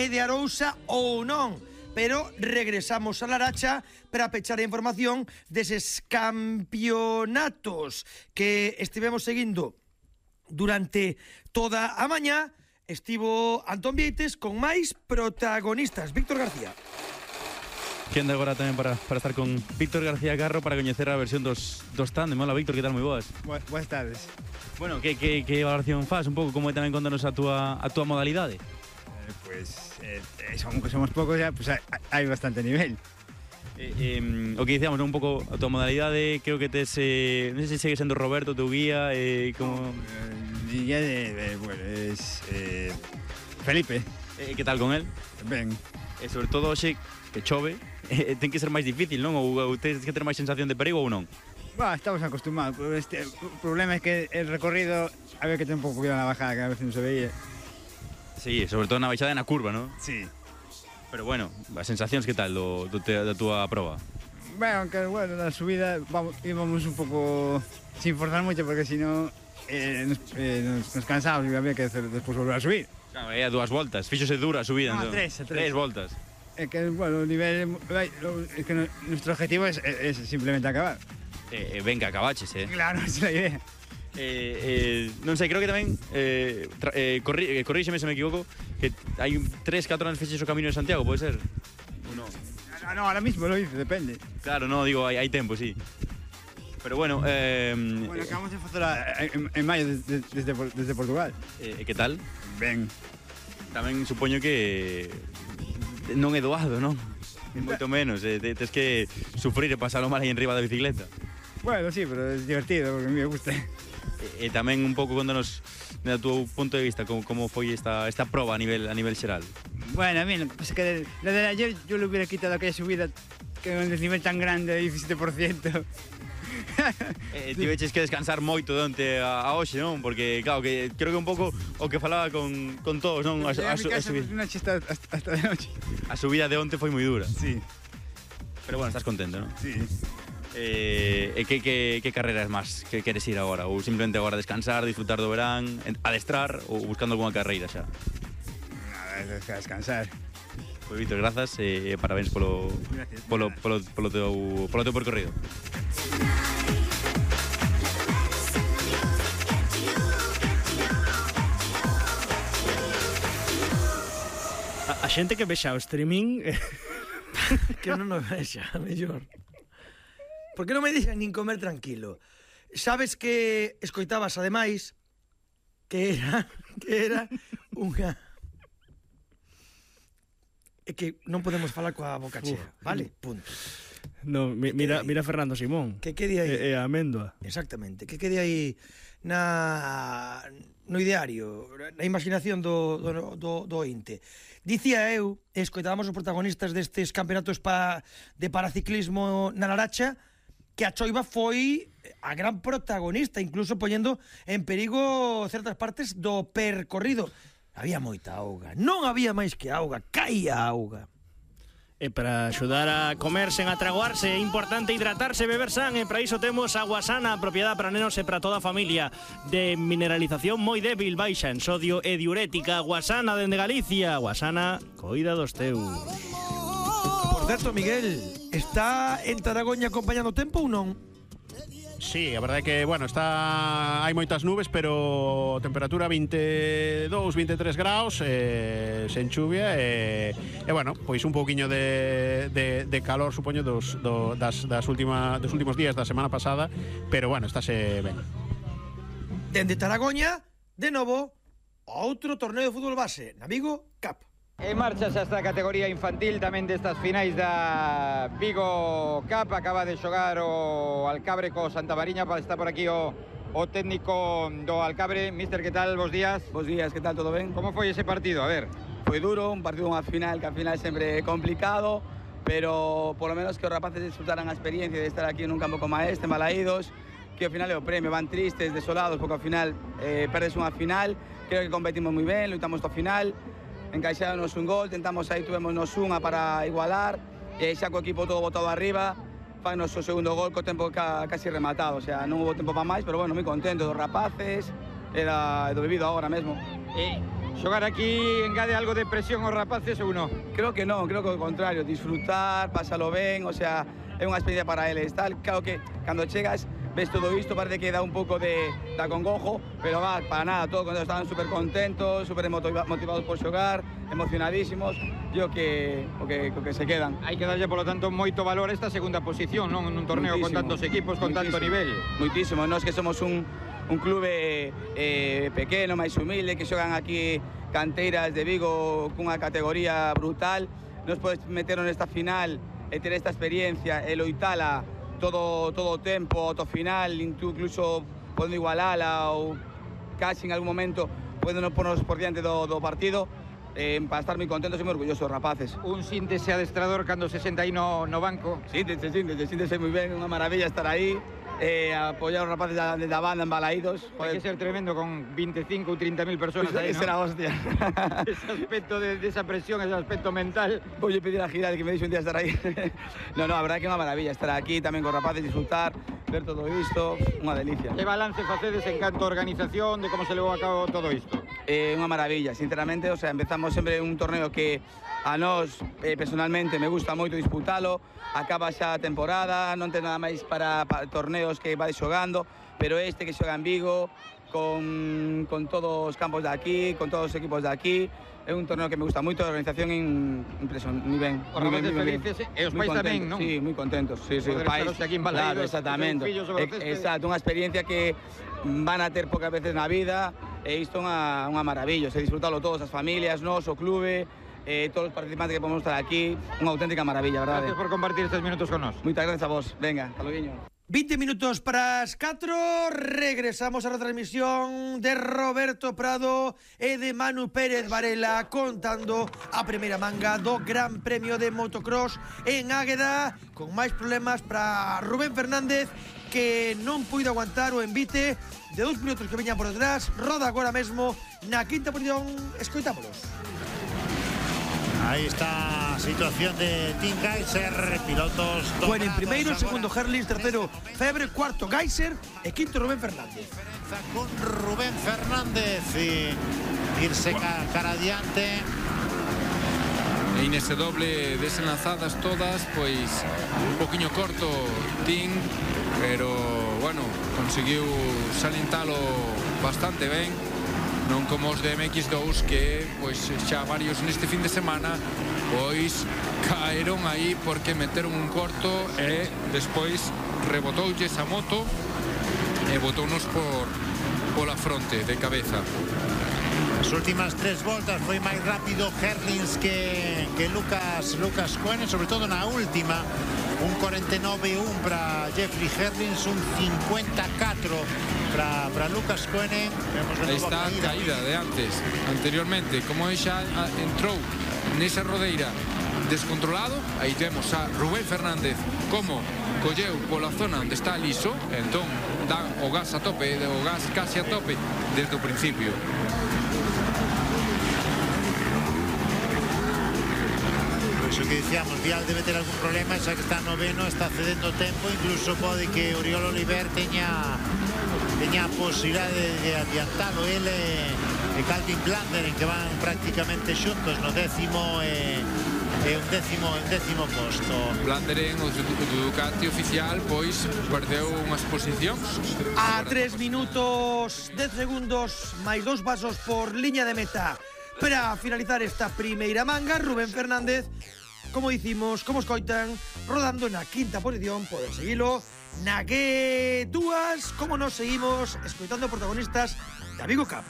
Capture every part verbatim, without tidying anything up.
é de Arousa ou non. Pero regresamos a Laracha para pechar a información deses campeonatos que estivemos seguindo durante toda a mañá. Estivo Antón Vieites con máis protagonistas. Víctor García. Quenda agora tamén para, para estar con Víctor García Carro para coñecer a versión dos, dos tándem. Hola, Víctor, que tal? Moi boas. Boas tardes. Bueno, que, que, que valoración faz un pouco? Como é tamén contanos a túa, a túa modalidade? Eh, pues, eh, somos, somos pocos ya, pues hay, hay bastante nivel. Eh, eh, o que dicíamos, un pouco a túa modalidade, creo que tes, eh, non sei se segue sendo Roberto teu guía, eh, como... Eh, guía de, de, bueno, es eh, Felipe. Eh, que tal con él? Ben. E sobre todo hoxe, que chove, eh, ten que ser máis difícil, non? Ou, ou tens que ter máis sensación de perigo ou non? Bah, estamos acostumados, pero este, o problema es que el recorrido había que tener un pouco cuidado na bajada, que a veces non se veía. Sí, sobre todo na baixada e na curva, non? Sí. Pero bueno, as sensacións que tal do, do te, da túa proba? Bueno, aunque bueno, na subida vamos, íbamos un pouco sin forzar moito porque si no eh, nos, eh, nos, nos cansábamos e había que hacer, despois volver a subir. Claro, é a dúas voltas, fíxose dura a subida. No, entón. tres, a tres. Tres voltas. Es que, bueno, el nivel, es que nuestro objetivo es, es simplemente acabar. Eh, eh, venga, acabaches, eh. Claro, esa es la idea. Eh, eh, non sei, creo que tamén eh, tra, eh, corri, eh, corríxeme se me equivoco, que hai tres, catro anos fixes o Camino de Santiago, pode ser? No, no, no, ahora mismo lo hice, depende. Claro, no, digo, hai, hai tempo, sí. Pero bueno, eh, bueno, acabamos de facer en, en maio desde, desde, desde Portugal. Eh, que tal? Ben. Tamén supoño que non é doado, non? Moito menos, eh, tes que sufrir e pasalo mal aí en riba da bicicleta. Bueno, sí, pero es divertido, porque a mí me gusta. E, e tamén un pouco contanos da tu punto de vista como, como foi esta, esta proba a nivel, a nivel xeral. Bueno, a mí lo que pasa es que la de ayer yo le hubiera quitado aquella subida que un desnivel tan grande de diecisiete por ciento. eh, Tiveches que descansar moito de onte a, a hoxe, non? Porque, claro, que creo que un pouco o que falaba con, con todos, non? A, a, a, a, subida, una chista hasta, hasta de noche. A subida de onte foi moi dura. Sí. Pero bueno, estás contento, non? Sí. Eh, que, que, que carreras máis que queres ir agora? Ou simplemente agora descansar, disfrutar do verán, adestrar ou buscando algunha carreira xa? Nada, descansar. Pois Víctor, grazas e eh, parabéns polo, Gracias, polo, polo, polo, teu, polo teu percorrido. A, a xente que vexa o streaming Que non nos vexa, mellor. Por que non me dixen nin comer tranquilo? Sabes que escoitabas ademais que era que era unha é que non podemos falar coa boca chea, vale? Punto. No, mi, mira, mira Fernando Simón. Que quede aí. E, e a Améndoa. Exactamente, que quede aí na no ideario, na imaginación do, do, do, do ointe. Dicía eu, escoitábamos os protagonistas destes campeonatos pa, de paraciclismo na Laracha, que a choiva foi a gran protagonista, incluso poñendo en perigo certas partes do percorrido. Había moita auga, non había máis que auga, caía auga. E para axudar a comer sen atragoarse é importante hidratarse e beber san, e para iso temos a Guasana, propiedade para nenos e para toda a familia, de mineralización moi débil, baixa en sodio e diurética. Guasana dende Galicia. Guasana, coida dos teus. Por certo, Miguel, está en Taragoña acompañando o tempo ou non? Sí, a verdade é que, bueno, está hai moitas nubes, pero temperatura veintidós, veintitrés graus, eh, sen chuvia e, e bueno, pois un pouquiño de, de, de calor, supoño, dos, do, das, das última, dos últimos días da semana pasada, pero bueno, estáse ben. Dende Taragoña, de novo, outro torneo de fútbol base, na Vigo Cup. En marcha xa esta categoría infantil tamén destas finais da Vigo Cup. Acaba de xogar o Alcabre co Santa Mariña, para estar por aquí o, o técnico do Alcabre. Mister, que tal? Bos días. Bos días, que tal? Todo ben? Como foi ese partido? A ver. Foi duro, un partido unha final, que a final sempre é complicado, pero polo menos que os rapaces disfrutaran a experiencia de estar aquí nun campo como este, malaídos, que ao final é o premio, van tristes, desolados, porque ao final eh, perdes unha final. Creo que competimos moi ben, lutamos ao final, encaixáronos un gol, tentamos aí, tuvémonos unha para igualar, e xa co equipo todo botado arriba, fagnos o segundo gol co tempo ca, casi rematado, o sea, non hubo tempo para máis, pero bueno, moi contento dos rapaces e da, do vivido agora mesmo. E Xogar aquí engade algo de presión aos rapaces ou non? Creo que non, creo que ao contrario, disfrutar, pásalo ben, o sea, é unha experiencia para eles, tal, claro que cando chegas ves todo isto, parece que dá un pouco de, de acongojo, pero va, para nada, todos estaban super contentos, super motiva, motivados por xogar, emocionadísimos, e o que, o que, o que se quedan. Hai que darlle, polo tanto, moito valor a esta segunda posición, non? Nun torneo Muitísimo, con tantos equipos, con tanto nivel. Muitísimo, nós que somos un, un clube eh, pequeno, máis humilde, que xogan aquí canteiras de Vigo cunha categoría brutal, nos podes meter nesta final e ter esta experiencia e loitala todo todo o tempo, ata o final, incluso podendo igualala ou casi en algún momento podendo ponos por diante do, do partido, eh, para estar moi contentos e moi orgullosos, rapaces. Un síntese adestrador cando se senta aí no, no banco. Síntese, síntese, síntese moi ben, unha maravilla estar aí, eh, apoyar os rapaces da, da banda embalaídos. Hai que ser tremendo con veinticinco ou treinta mil personas Pues aí, ¿no? será hostia. Ese aspecto de, de esa presión, ese aspecto mental. Voy a pedir a Giral que me deixe un día estar aí. No, no, a verdade que é unha maravilla estar aquí tamén con rapaces, disfrutar, ver todo isto, unha delicia. Que balance facedes en canto a organización de como se levou a cabo todo isto? Eh, unha maravilla, sinceramente, o sea, empezamos sempre un torneo que a nós, eh, personalmente, me gusta moito disputalo, acaba xa a temporada, non ten nada máis para, para torneos que vai xogando, pero este que xoga en Vigo, con, con todos os campos de aquí, con todos os equipos de aquí, é un torneo que me gusta moito, a organización é impresionante, moi ben. Os rapaces felices e os pais tamén, non? Sí, moi contentos, sí, sí, os Poder pais. estaros aquí en Balaidos, Claro, exactamente. ter un fillo sobre o césped. Exacto, unha experiencia que van a ter pocas veces na vida, e isto é unha, unha maravilla, se disfrutalo todos, as familias, nós, o clube, eh, todos os participantes que podemos estar aquí, unha auténtica maravilla, verdade? Gracias por compartir estes minutos con nós. Moitas gracias a vos, venga, hasta luego. veinte minutos para as catro, regresamos a retransmisión de Roberto Prado e de Manu Pérez Varela contando a primeira manga do Gran Premio de Motocross en Águeda, con máis problemas para Rubén Fernández, que non puido aguantar o envite de dous pilotos que veñan por detrás. Roda agora mesmo na quinta posición, escoitámolos. Ahí está a situación de Team Geyser, pilotos... Bueno, en primeiro, segundo Herlings, tercero Febre, cuarto Geyser e quinto Rubén Fernández. Con Rubén Fernández y irse cara adiante. E nese doble desenlazadas todas, pois un poquinho corto Team, pero bueno, conseguiu salentalo bastante ben. Non como os de M X dous que pois xa varios neste fin de semana pois caeron aí porque meteron un corto e despois rebotoulles a moto e botounos por pola fronte de cabeza. As últimas tres voltas foi máis rápido Herlings que, que Lucas Lucas Koenen, sobre todo na última. Un cuarenta y nueve uno para Jeffrey Herlings, un cincuenta y cuatro para, para Lucas Koenen. Esta caída. caída de antes, anteriormente, como ella entrou nesa rodeira descontrolado, aí temos a Rubén Fernández como colleu pola zona onde está liso, entón dá o gas a tope, o gas casi a tope desde o principio. Eso que dicíamos, Vial debe ter algún problema, xa que está noveno, está cedendo tempo, incluso pode que Oriol Oliver teña teña a posibilidade de, de adiantalo ele e Calvin Blander, en que van prácticamente xuntos no décimo e, e un décimo un décimo posto. Blander en o Ducati oficial pois perdeu unhas posicións. A tres minutos dez segundos máis dous pasos por liña de meta para finalizar esta primeira manga. Rubén Fernández, como dicimos, como escoitan, rodando na quinta posición. Poden seguilo na que dúas, como nos seguimos escoitando protagonistas da Vigo Cup.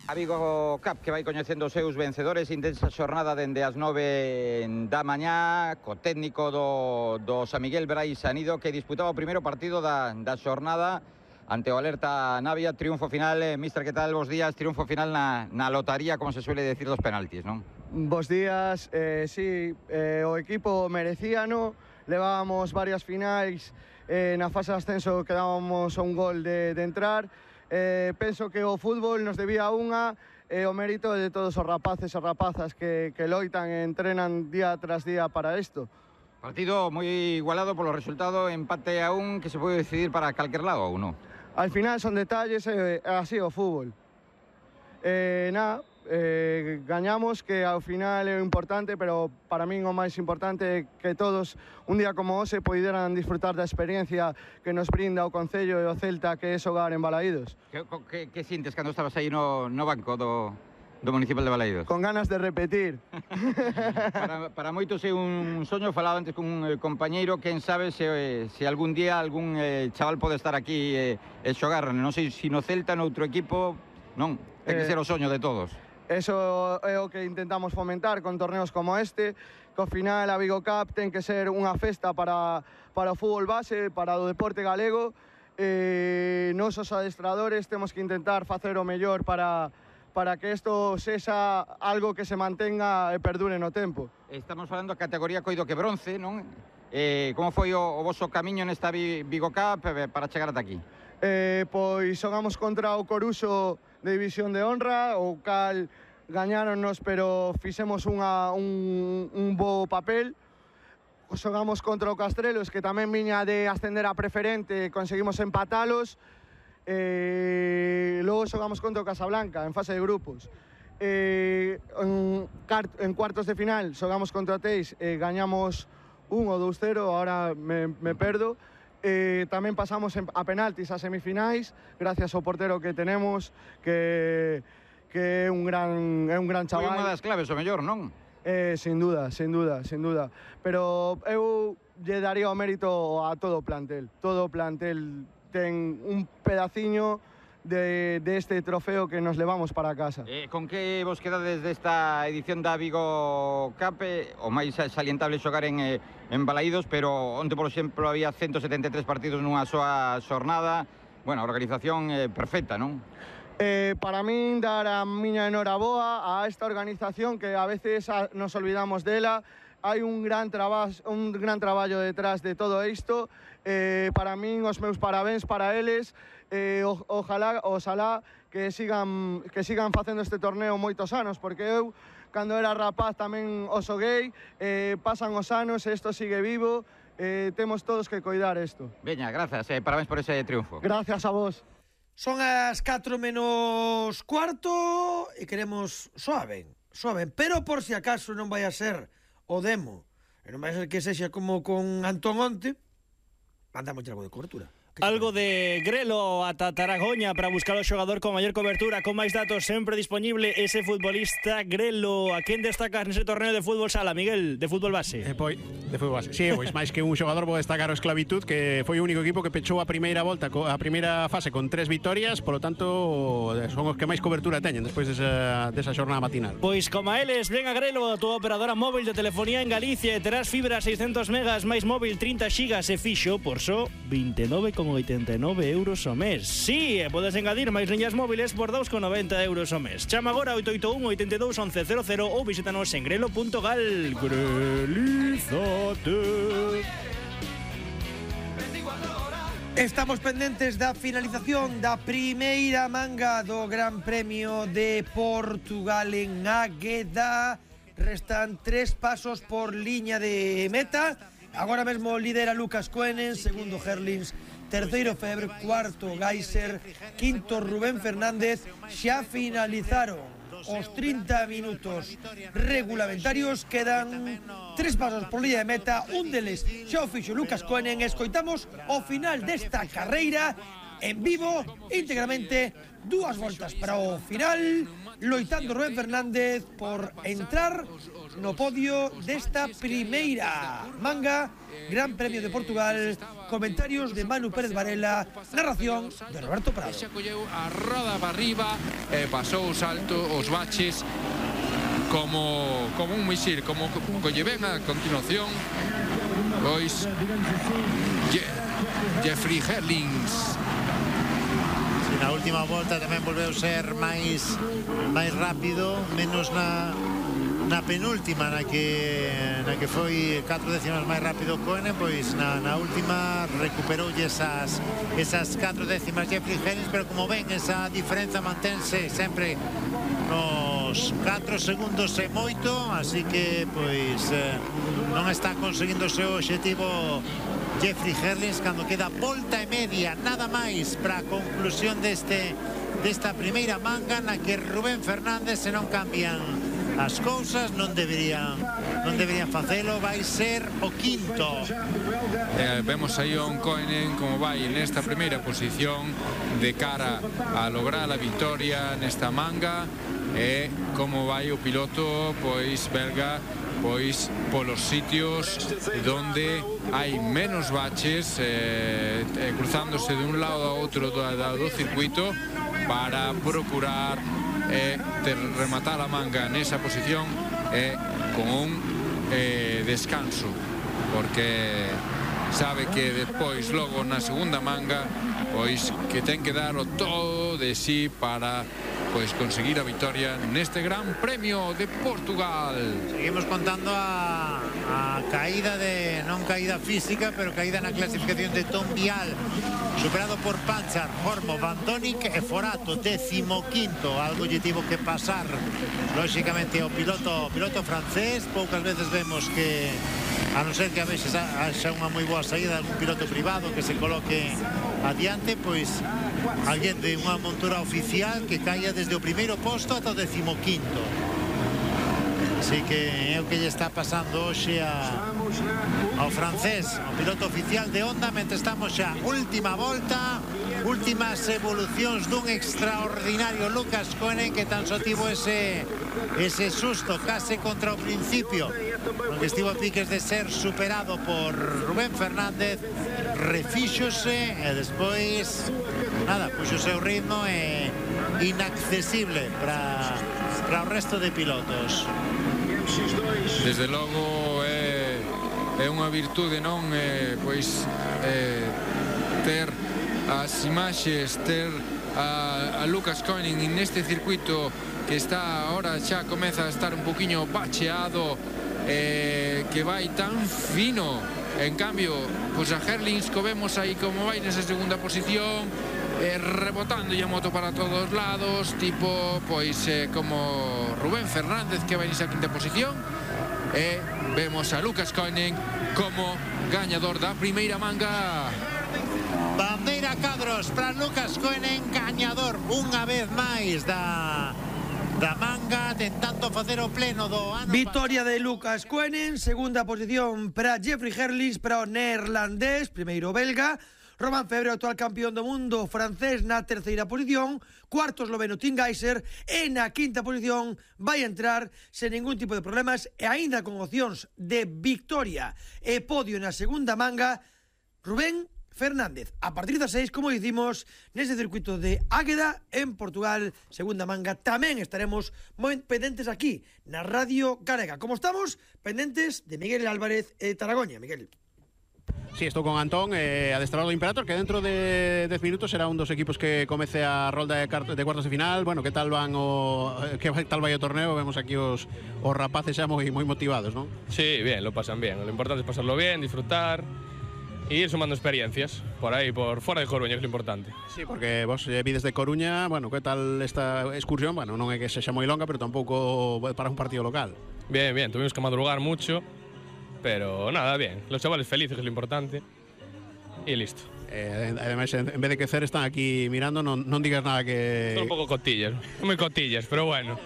A Vigo Cup que vai coñecendo os seus vencedores, intensa xornada dende as nove da mañá, co técnico do, do San Miguel Brais Anido, que disputaba o primeiro partido da, da xornada ante o Alerta Navia. Triunfo final, eh, mister, que tal? Bos días. Triunfo final na, na lotaría, como se suele decir, dos penaltis, non? Bos días, eh, sí, eh, o equipo merecíano, levábamos varias finais, eh, na fase de ascenso quedábamos a un gol de, de entrar. Eh, penso que o fútbol nos debía unha, e eh, o mérito de todos os rapaces e rapazas que, que loitan e entrenan día tras día para isto. Partido moi igualado polo resultado, empate a un, que se pode decidir para calquer lado ou non? Al final son detalles, eh, así o fútbol. Eh, nada, eh, gañamos, que ao final é o importante, pero para min o máis importante é que todos, un día como hoxe, poideran disfrutar da experiencia que nos brinda o Concello e o Celta, que é xogar en Balaídos. Que, que, que sintes cando estabas aí no, no banco do, do Municipal de Balaídos? Con ganas de repetir. para, para moitos é un soño, falaba antes con un eh, compañeiro, quen sabe se, se algún día algún eh, chaval pode estar aquí e eh, xogar, non sei se no Celta, no outro equipo, non, ten que eh, ser o soño de todos. Eso é o que intentamos fomentar con torneos como este, que ao final a Vigo Cup ten que ser unha festa para, para o fútbol base, para o deporte galego. Eh, nos os adestradores temos que intentar facer o mellor para, para que isto sexa algo que se mantenga e perdure no tempo. Estamos falando de categoría coido que bronce, non? Eh, como foi o, o voso camiño nesta Vigo Cup para chegar ata aquí? Eh, pois xogamos contra o Coruxo de División de Honra, o cal gañáronnos, pero fixemos unha, un, un bo papel. Xogamos contra o Castrelos, que tamén viña de ascender a preferente, conseguimos empatalos. Eh, logo xogamos contra o Casablanca, en fase de grupos. Eh, en, en cuartos de final xogamos contra o Teis, eh, gañamos un ou dous cero, ahora me, me perdo. Eh, tamén pasamos a penaltis a semifinais, gracias ao portero que tenemos, que, que é un gran, é un gran chaval. Foi unha das claves, o mellor, non? Eh, sin duda, sin duda, sin duda. Pero eu lle daría o mérito a todo o plantel. Todo o plantel ten un pedaciño de, de este trofeo que nos levamos para casa. Eh, con que vos quedades desta edición da Vigo Cup? Eh, o máis salientable xogar en, eh, en Balaídos, pero onte, por exemplo, había ciento setenta e tres partidos nunha soa xornada. Bueno, a organización eh, perfecta, non? Eh, para min, dar a miña enhoraboa a esta organización, que a veces a, nos olvidamos dela. Hai un gran, traba, un gran traballo detrás de todo isto. Eh, para min, os meus parabéns para eles. Eh, o, ojalá, ojalá que sigan, que sigan facendo este torneo moitos anos, porque eu, cando era rapaz, tamén o xoguei, eh, pasan os anos e isto sigue vivo, eh, temos todos que coidar isto. Veña, grazas, eh, parabéns por ese triunfo. Gracias a vos. Son as catro menos cuarto e queremos soaben, soaben, pero por si acaso non vai a ser o demo, e non vai a ser que sexa como con Antón onte, mandamos algo de cobertura. Algo de Grelo ata Taragoña para buscar o xogador con maior cobertura, con máis datos, sempre disponible ese futbolista Grelo. A quen destacas nese torneo de fútbol sala, Miguel, de fútbol base? Eh, pois, de fútbol base. Sí, pois máis que un xogador vou destacar o Esclavitud, que foi o único equipo que pechou a primeira volta, a primeira fase con tres vitorias, polo tanto son os que máis cobertura teñen despois desa, desa xornada matinal. Pois como a eles, ven a Grelo, a tua operadora móvil de telefonía en Galicia, e terás fibra seiscentos megas máis móvil trinta xigas e fixo por só vinte e nove con oitenta e nove euros ao mes. Sí, e podes engadir máis liñas móviles por dous con noventa euros ao mes. Chama agora oito oito un, oito dous, once cero cero ou visítanos en grelo punto gal. Grelízate. Estamos pendentes da finalización da primeira manga do Gran Premio de Portugal en Águeda. Restan tres pasos por liña de meta. Agora mesmo lidera Lucas Koenen, segundo Herlings, terceiro Febre, cuarto Geiser, quinto Rubén Fernández. Xa finalizaron os trinta minutos regulamentarios, quedan tres pasos por liña de meta, un deles xa o fixo Lucas Koenen. Escoitamos o final desta carreira en vivo, íntegramente, dúas voltas para o final, loitando Rubén Fernández por entrar no podio desta primeira manga Gran Premio de Portugal. Comentarios de Manu Pérez Varela, narración de Roberto Prado. Xa colleu a roda para arriba e pasou o salto, os baches como, como un misil, como colle ven a continuación pois Je Jeffrey Herlings. Na última volta tamén volveu ser máis máis rápido, menos na na penúltima, na que na que foi catro décimas máis rápido Koenen, pois na, na última recuperoulle esas esas catro décimas Jeffrey Herlings, pero como ven, esa diferenza mantense sempre nos catro segundos e moito, así que pois eh, non está conseguindo o seu obxectivo Jeffrey Herlings, cando queda volta e media nada máis para a conclusión deste desta primeira manga na que Rubén Fernández, se non cambian as cousas, non deberían non deberían facelo, vai ser o quinto. Eh, vemos aí a Oncoinen como vai nesta primeira posición de cara a lograr a victoria nesta manga, e como vai o piloto pois belga pois polos sitios donde hai menos baches, eh, eh, cruzándose de un lado a outro do, do circuito para procurar eh, ter, rematar a manga nesa posición eh, con un eh, descanso, porque sabe que despois logo na segunda manga pois que ten que dar o todo de sí para pois conseguir a victoria neste Gran Premio de Portugal. Seguimos contando a, a caída de, non caída física, pero caída na clasificación de Tom Vial, superado por Panchar, Hormo, Van Donick e Forato, décimo quinto. Algo lle tivo que pasar lóxicamente ao piloto, piloto francés. Poucas veces vemos que, a non ser que a veces haxa unha moi boa saída de algún piloto privado que se coloque adiante, pois alguén de unha montura oficial que caia desde o primeiro posto ata o decimoquinto. Así que é o que lle está pasando hoxe a, ao francés, ao piloto oficial de Honda, mentre estamos xa última volta, últimas evolucións dun extraordinario Lucas Koenen, que tan só tivo ese, ese susto case contra o principio, onde estivo a piques de ser superado por Rubén Fernández, refíxose e despois nada, puxo o seu ritmo e inaccesible para, para o resto de pilotos. Desde logo é, é unha virtude, non? É, pois é, ter as imaxes, ter a, a Lucas Koenen neste circuito que está ahora xa comeza a estar un poquinho bacheado, eh, que vai tan fino. En cambio, pois a Herlings co vemos aí como vai nesa segunda posición, eh, rebotando a moto para todos lados, tipo pois eh, como Rubén Fernández, que vai nesa quinta posición, e vemos a Lucas Koenen como gañador da primeira manga. Bandeira cadros para Lucas Koenen, gañador unha vez máis da da manga, tentando facer o pleno do ano. Victoria de Lucas Koenen, segunda posición para Jeffrey Herlings, para o neerlandés, primeiro belga. Romain Febvre, actual campeón do mundo francés, na terceira posición. Cuarto esloveno Tim Geiser, e na quinta posición vai entrar sen ningún tipo de problemas e aínda con opcións de victoria e podio na segunda manga, Rubén Fernández. A partir das seis, como dicimos, nese circuito de Águeda, en Portugal, segunda manga, tamén estaremos moi pendentes aquí, na Radio Galega. Como estamos? Pendentes de Miguel Álvarez e Taragoña. Miguel. Sí, estou con Antón, eh, adestrador do Imperator, que dentro de dez minutos será un dos equipos que comece a rolda de, de cuartos de final. Bueno, que tal van o que tal vai o torneo? Vemos aquí os, os rapaces xa moi, moi motivados, ¿no? Sí, bien, lo pasan bien. Lo importante es pasarlo bien, disfrutar e ir sumando experiencias por aí, por fora de Coruña, que é lo importante. Sí, porque vos eh, vides de Coruña, bueno, que tal esta excursión? Bueno, non é que sexa moi longa, pero tampouco para un partido local. Bien, bien, tuvimos que madrugar mucho, pero nada, bien. Los chavales felices, que es lo importante, y listo. Eh, además, en, en vez de crecer, están aquí mirando, non, non digas nada que... Son un pouco cotillas, moi cotillas, pero bueno.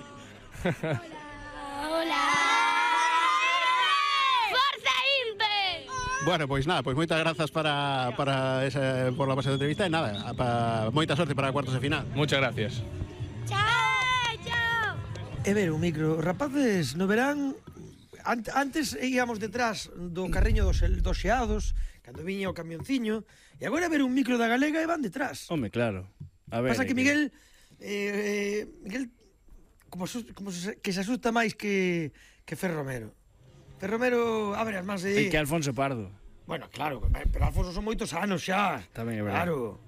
Bueno, pois nada, pois moitas grazas para, para esa, por la pasada entrevista e nada, para, moita sorte para cuartos de final. Muchas gracias. Chao, chao. E ver, un micro, rapaces, no verán, antes íamos detrás do carriño dos, dos xeados, cando viña o camionciño, e agora ver un micro da Galega e van detrás. Home, claro. A ver, pasa que Miguel, eh, Miguel, como, como se, que se asusta máis que, que Fer Romero. Romero abre as mans e... E que Alfonso Pardo. Bueno, claro, pero Alfonso son moitos anos xa. Tamén é verdade. Claro.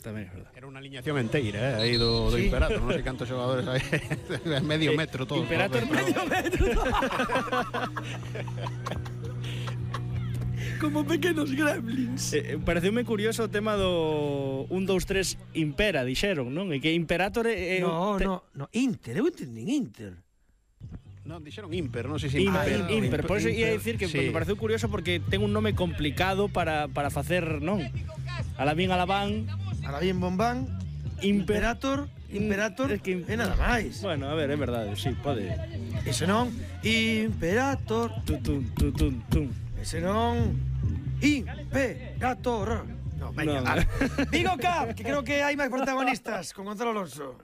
Tamén é verdade. Era unha aliñación enteira, eh, aí do, do sí. Imperator, non sei cantos xogadores hai. Medio metro todo. Imperator todo, medio metro. Como pequenos gremlins. Eh, pareceume curioso o tema do un, dous, tres Impera, dixeron, non? E que Imperator é... No, te... no, no, Inter, eu entendín Inter. Non, dixeron Imper, non sei se Imper. Imper, Imper. Por eso ia dicir que sí. Me pareceu curioso porque ten un nome complicado para, para facer, non? Alabín Alabán, Alabín Bombán, Imperator, Imperator, É que- é nada máis. Bueno, a ver, é verdade, sí, pode. Ese non, Imperator, Tum, tum, tum, tum, tum. ese non, Imperator. No, venga, No. va. Vigo Cup, que creo que hai máis protagonistas, con Gonzalo Alonso.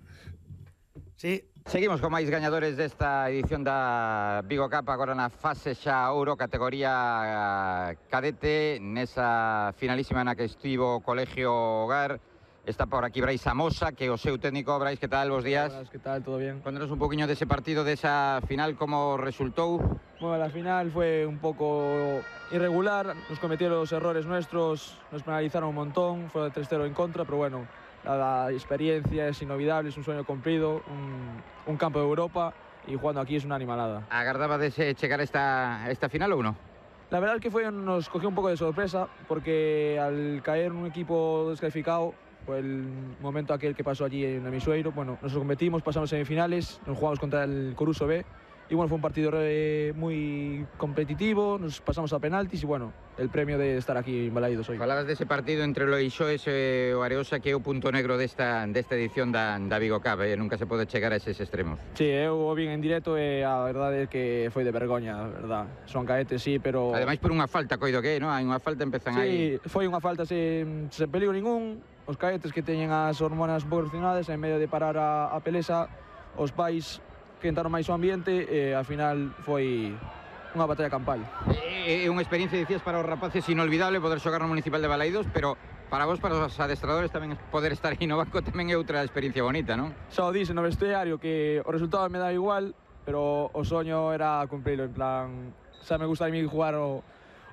Sí. Seguimos con máis gañadores desta edición da Vigo Cup, agora na fase xa ouro, categoría cadete, nesa finalísima na que estivo o Colegio Hogar. Está por aquí Brais Amosa, que é o seu técnico. Brais, que tal? Bos días. Buenas, ¿qué tal? ¿Todo bien? Contanos un poquinho dese partido, desa final, como resultou. Bueno, la final fue un poco irregular, nos cometieron los errores nuestros, nos penalizaron un montón, fue tres cero en contra, pero bueno, la, la experiencia es inolvidable, es un sueño cumplido, un, un campo de Europa y jugando aquí es una animalada. Agardaba de chegar a esta, esta final ou non? La verdad es que fue, nos cogió un poco de sorpresa porque al caer un equipo descalificado, fue el momento aquel que pasó allí en Amisueiro, bueno, nos competimos, pasamos semifinales, nos jugamos contra el Coruso B y bueno, fue un partido eh, muy competitivo, nos pasamos a penaltis y bueno, el premio de estar aquí en Balaídos hoy. Falabas dese partido entre o Loixoes e o Areosa, que é o punto negro desta, desta edición da, da Vigo Cup, eh? Nunca se pode chegar a eses extremos. Sí, eu o vin en directo e a verdade é que foi de vergoña, a verdad. Son caetes, sí, pero... Ademais por unha falta, coido que, non? Hai unha falta, empezan aí... Sí, foi unha falta sen, sen peligro ningún. Os caetes que teñen as hormonas proporcionadas, en medio de parar a, a pelesa, os pais quentaron máis o ambiente e ao final foi unha batalla campal. É unha experiencia, dicías, para os rapaces inolvidable poder xogar no Municipal de Balaídos, pero para vos, para os adestradores, tamén poder estar aí no banco tamén é outra experiencia bonita, non? Xa o dise no vestiario que o resultado me dá igual, pero o soño era cumprilo, en plan, xa me gusta a mí jugar o,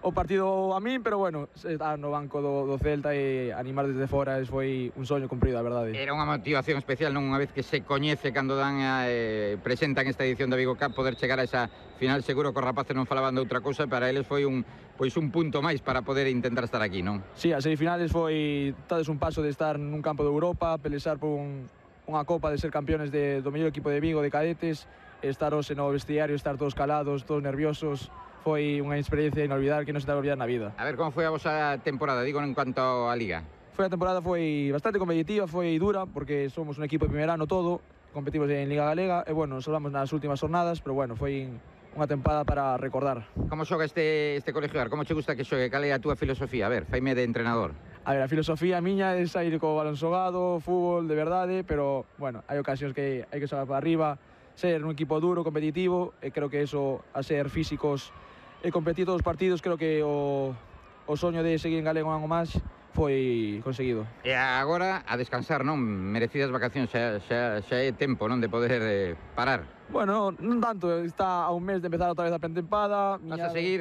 o partido a min, pero bueno, estar no banco do, do Celta e animar desde fora foi un soño cumprido, a verdade. Era unha motivación especial, non? Unha vez que se coñece cando dan a, eh, presentan esta edición da Vigo Cup, poder chegar a esa final. Seguro que os rapaces non falaban de outra cousa, para eles foi un, pois un punto máis para poder intentar estar aquí, non? Sí, as semifinales foi tades un paso de estar nun campo de Europa, pelexar por un, unha copa, de ser campeones de, do mellor equipo de Vigo, de cadetes, estar hoxe no vestiario, estar todos calados, todos nerviosos. Foi unha experiencia inolvidable que non se te vai olvidar na vida. A ver, como foi a vosa temporada, digo, en cuanto á Liga? Foi a temporada foi bastante competitiva, foi dura, porque somos un equipo de primer ano todo, competimos en Liga Galega, e bueno, nos salvamos nas últimas jornadas, pero bueno, foi unha tempada para recordar. Como xoga este, este colegio? Como che gusta que xogue? Cal é a túa filosofía? A ver, faime de entrenador. A ver, a filosofía miña é sair co balón xogado, fútbol de verdade, pero, bueno, hai ocasións que hai que xogar para arriba, ser un equipo duro, competitivo, e creo que eso, a ser físicos e competir todos os partidos, creo que o, o soño de seguir en galego un ano máis foi conseguido. E agora a descansar, non? Merecidas vacacións, xa, xa, xa é tempo, non? De poder eh, parar. Bueno, non tanto, está a un mes de empezar outra vez a pretempada. Vas a seguir